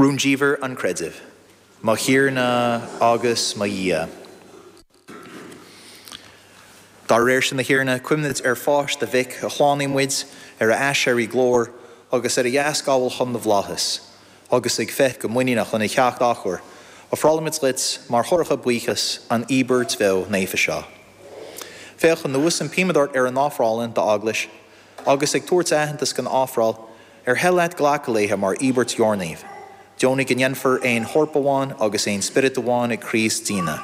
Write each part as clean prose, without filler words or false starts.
Rúndiamhair an Chreidimh. Mo Thiarna agus mo Dhia. Dá réir sin, a Thiarna, cuimhnid ar pháis do Mhic, a shlánaigh muid, ar a aiséirí glóir, agus ar a dheascabháil chun na bhflaitheas, agus ag féith go muiníneach lena theacht athuair, ofrálaimid duit mar thoradh buíochais an íobairt bheo naofa seo. Féach anuas, impímid ort, ar ár n-ofráil d'eaglais, agus ag tabhairt aitheantas don ofráil, ar thoil leat glacadh léithe mar íobairt dheornaimh. Deonaigh go ndéanfar aon chorp amháin agus aon spiorad amháin ag Críost dínne,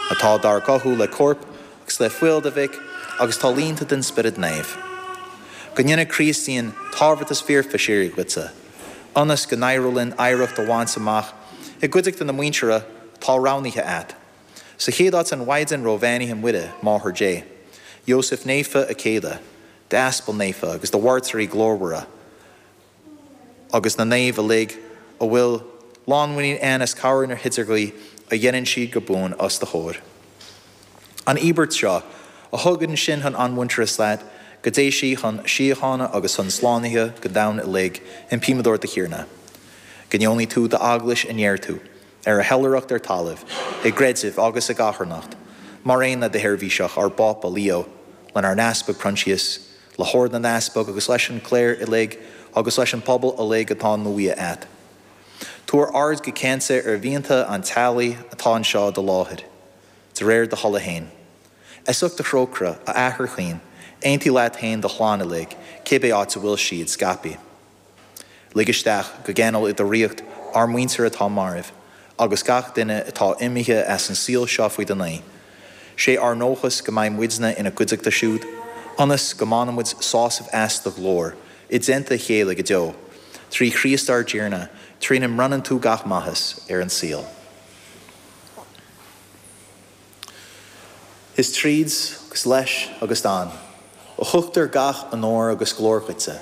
atá dár gcothú le corp agus le fuil do Mhic agus atá líonta den Spiorad Naomh. Go ndéana Críost dínn tabhartas foirfe síoraí dhuitse, ionas go n-éireoidh linn oidhreacht a bhaint amach i gcuideachta na muintire atá roghnaithe agat, sa chéad áit an Mhaighdean róbheannaithe Muire, Máthair Dé, Iósaef Naofa a céile, d'aspail naofa agus do mhairtírí glórmhara agus na naoimh uilig a bhfuil lánmhuinín ann as cabhair na hidirghuí a dhéanann siad go buan os do chomhair. An íobairt seo, a thugann sinn chun athmhuintearas leat, go dté sí chun síochána agus chun slánaithe don domhan uilig, impímid ort, a Thiarna. Go ndeonaí tú d'Eaglais a neartú ar a hoilithreacht ar talamh, i gcreideamh agus i gcatharnacht, mar aon le do sheirbhíseach, ár bPápa Leo, lenár nEaspag Proinsias, le hOrd na nEaspag agus leis an gcléir uilig agus leis an bpobal uilig atá náithe agat. Tabhair aird go ceansa ar mhianta an teaghlaigh atá anseo i do láthair, de réir do thola féin. As ucht do thrócaire, a Athair chaoin, aontaigh leat féin do chlann uilig, cibé áit a bhfuil siad scaipthe. Lig isteach go geanúil i do ríocht ár muintir atá marbh, agus gach duine atá imithe as an saol seo faoi do naoi. 'Sé ár ndóchas go mbeidh muidne ina gcuideachta siúd, ionas go mbainfidh muid sásamh as do ghlóir i dteannta a chéile go deo, trí Chríost ár dTiarna, trína mbronnann tú gach maitheas ar an saol. Is tríd, agus leis, agus ann, a thugtar gach onóir agus glóir dhuitse,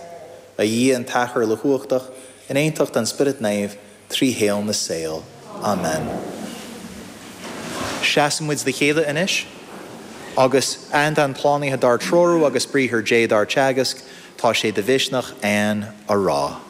a Dhia an tAthair uilechumhachtach, in aontacht an Spioraid Naoimh, trí shaol na saol. Amen. Seasann muid le chéile anois, agus aitheanta an tslánaithe dár dtreorú agus briathar Dé dár dteagasc, tá sé de mhisneach a'ainn a rá.